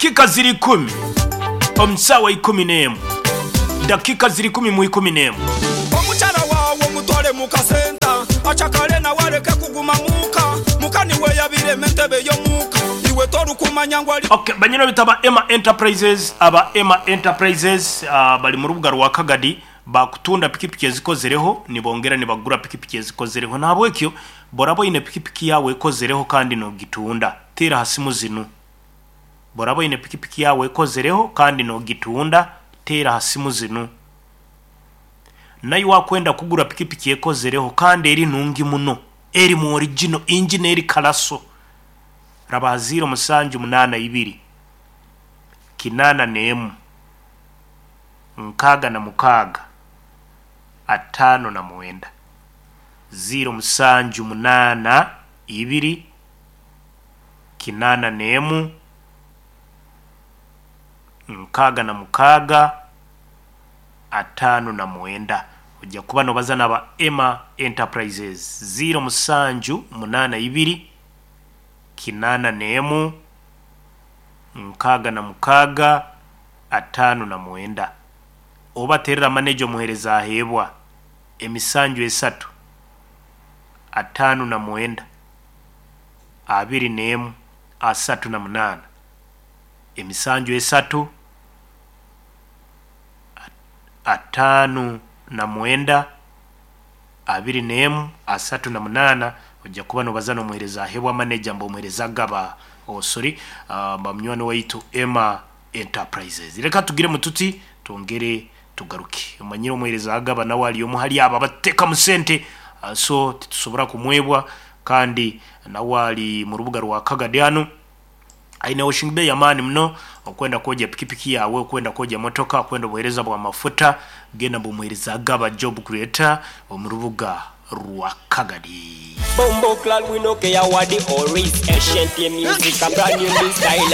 Dakika ziri 10 omu saawa 11. Dakika ziri 10 mu 11. Omukyala waawe omutwale mu kasenta acakale nawe aleke kuguma muuka. Muka niwe yabirema entebe y'omuuka iwe torukumanya ngu ali. Ok banyina bita aba Emma Enterprises aba Emma Enterprises bari mu rubuga rwa Kagadi bakutunda pikipiki ezikozereho nibongera nibagura pikipiki ezikozereho nahabwekyo boraba oine pikipiki yaawe ekozereho kandi nogitunda teera ha simu zinu boraba oine pikipiki yaawe ekozereho kandi nogitunda teera ha simu zinu naiwe akwenda kugura pikipiki ekozereho kandi eri nungi muno erimu original engine eri kalaso raba ha ziiro musanju munaana ibiri 81 66 59 ziiro musanju munaana ibiri 81 66 59 ojja kuba nobaza naba Emma Enterprises 0782 81 66 59 oba terera maneja omuhereza aheebwa emisanju esatu 59 21 38 emisanju esatu 59 21 38 ojja kuba nobaza n'omuhereza aheebwa maneja mba omuhereza agaba oh sorry mba munywani waitu Emma Enterprises. Reka tugiremu tuti twongere tugaruke. Omanyire omuhereza agaba nawe ari omu hali abo abatutekamu sente so titusobora kumwebwa kandi nawe ari mu rubuga rwa Kagadi hanu aine washing bay y'amaani muno okwenda kwogya pikipiki yaawe, okwenda kwogya motoka, okwenda obuheereza bw'amafuta genda mbu omuheereza agaba job creator omu rubuga rwa Kagadi. Bumbo clad, we no care what the or is. Ancient music, a brand new style.